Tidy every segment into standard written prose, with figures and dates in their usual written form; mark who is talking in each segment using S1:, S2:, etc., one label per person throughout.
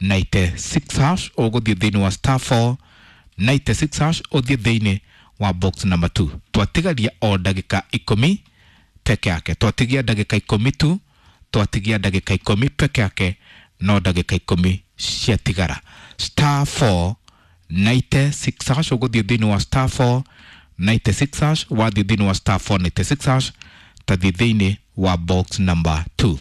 S1: 96 hash, ũgũthiĩ thĩinĩ wa star 4 96 hash, ũthiĩ thĩinĩ wa box number 2. Twatigaria o ndagĩka 10 peke yake, twatigia ndagĩka 10 tu, twatigia ndagĩka 10 peke yake, no ndagĩka 10 ciatigara. Star 4 96 hash, ũgũthiĩ thĩinĩ wa star 4 96 hash, wathiĩ thĩinĩ wa star 4 96 hash, tathiĩ thĩinĩ wa box number 2,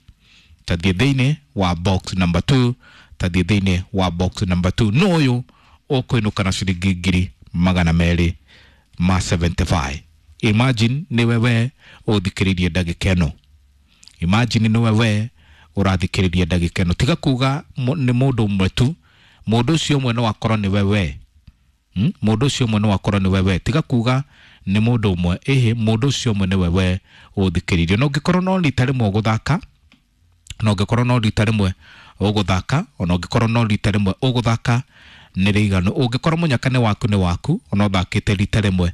S1: tathiĩ thĩinĩ wa box number 2, tathiĩ thĩinĩ wa box number 2. No ũyũ ũkũinũka na ciringi 275,000. Imagine nĩwe we ũthikĩrĩirie ndagĩka ĩno, imagine nĩwe we ũrathikĩrĩria ndagĩka ĩno. Tiga kuga nĩ mũndũ ũmwe tu, mũndũ ũcio ũmwe no akorwo nĩwe we. Mũndũ ũcio ũmwe no akorwo nĩwe we. Tiga kuga nĩ mũndũ ũmwe, ĩhĩ, mũndũ ũcio ũmwe nĩwe we ũthikĩrĩirie. Na ũngĩkorwo no rita rĩmwe ũgũthaka, na ũngĩkorwo no rita rĩmwe ũgũthaka, ona ũngĩkorwo no rita rĩmwe ũgũthaka nĩ rĩiganu. Ũngĩkorwo mũnyaka nĩ waku nĩ waku, ona ũthakĩte rita rĩmwe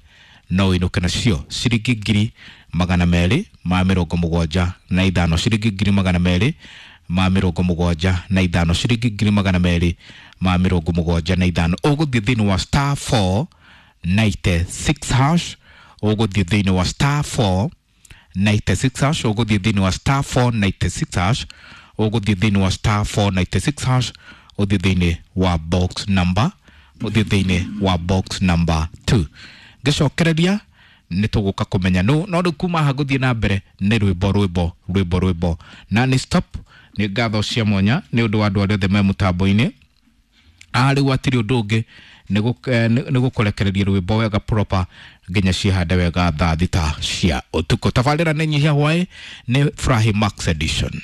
S1: no ũinũke nacio ciringi 275,000, ciringi 275,000, ciringi 275,000. Ũgũthiĩ thĩinĩ wa star 4 96 hash, ũgũthiĩ thĩinĩ wa star 4 96 hash, ũgũthiĩ thĩinĩ wa star 4 96 hash, ũgũthiĩ thĩinĩ wa star 4 96 hash, ũthiĩ thĩinĩ wa box number, ũthiĩ thĩinĩ wa box number 2. Ngĩcokereria nĩ tũgũka kũmenya no no rĩu kuma haha gũthiĩ na mbere nĩ rwĩmbo rwĩmbo rwĩmbo rwĩmbo na nĩ stop. Nĩ ngatho cia mwanya nĩ ũndũ wa andũ arĩa othe me mũtambo-inĩ. Rĩu hatirĩ ũndũ ũngĩ nĩ gũkũrekereria rwĩmbo wega proper nginya ciĩhande wega thaa 6 cia ũtukũ. Tabarĩra nĩ nyihia hwaĩ nĩ Furahi Max Edition.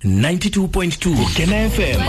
S2: 92.2 Kena FM.